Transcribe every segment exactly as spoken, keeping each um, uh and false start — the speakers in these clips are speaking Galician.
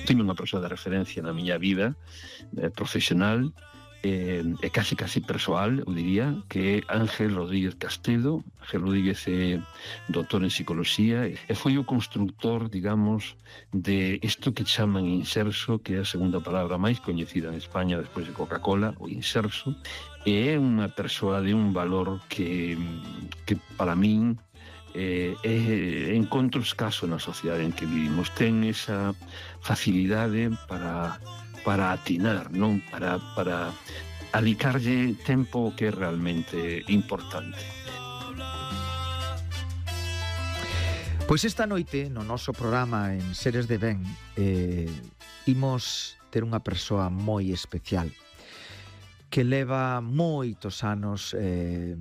Tiño unha persoa de referencia na miña vida eh, profesional eh, e casi casi persoal, eu diría, que é Ángel Rodríguez Castelo. Ángel Rodríguez é doutor en psicoloxía e foi o constructor, digamos, de isto que chaman inserso, que é a segunda palabra máis coñecida en España despois de Coca-Cola, o inserso, e é unha persoa de un valor que, que para min eh, é encontro escaso na sociedade en que vivimos. Ten esa facilidade para, para atinar, non? Para, para alicarlle tempo que é realmente importante. Pois esta noite, no noso programa en Seres de Ben, eh, imos ter unha persoa moi especial que leva moitos anos, eh,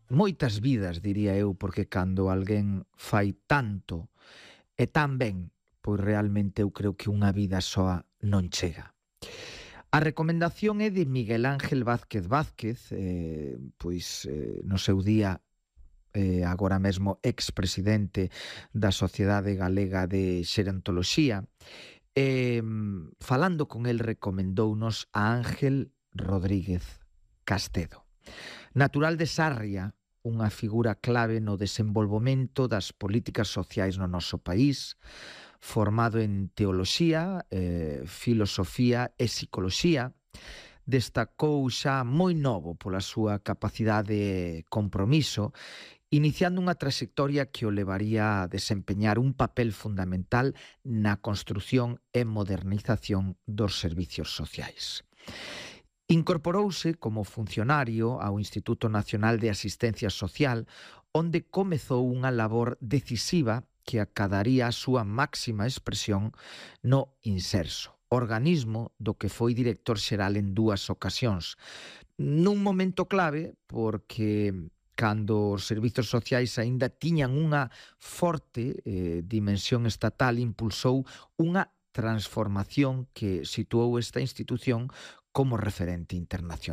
moitas vidas, diría eu, porque cando alguén fai tanto e tan ben, pois realmente eu creo que unha vida soa non chega. A recomendación é de Miguel Ángel Vázquez Vázquez, eh, pois eh, no seu día, eh, agora mesmo expresidente da Sociedade Galega de Xerontoloxía, e falando con el recomendounos a Ángel Rodríguez Castelo. Natural de Sarria, unha figura clave no desenvolvemento das políticas sociais no noso país, formado en teoloxía, eh, filosofía e psicoloxía, destacou xa moi novo pola súa capacidade de compromiso, iniciando unha trayectoria que o levaría a desempeñar un papel fundamental na construción e modernización dos servicios sociais. Incorporouse como funcionario ao Instituto Nacional de Asistencia Social, onde comezou unha labor decisiva que acadaría a súa máxima expresión no Inserso, organismo do que foi director xeral en dúas ocasións. Nun momento clave, porque cando os servizos sociais aínda tiñan unha forte eh, dimensión estatal, impulsou unha transformación que situou esta institución como referente internacional.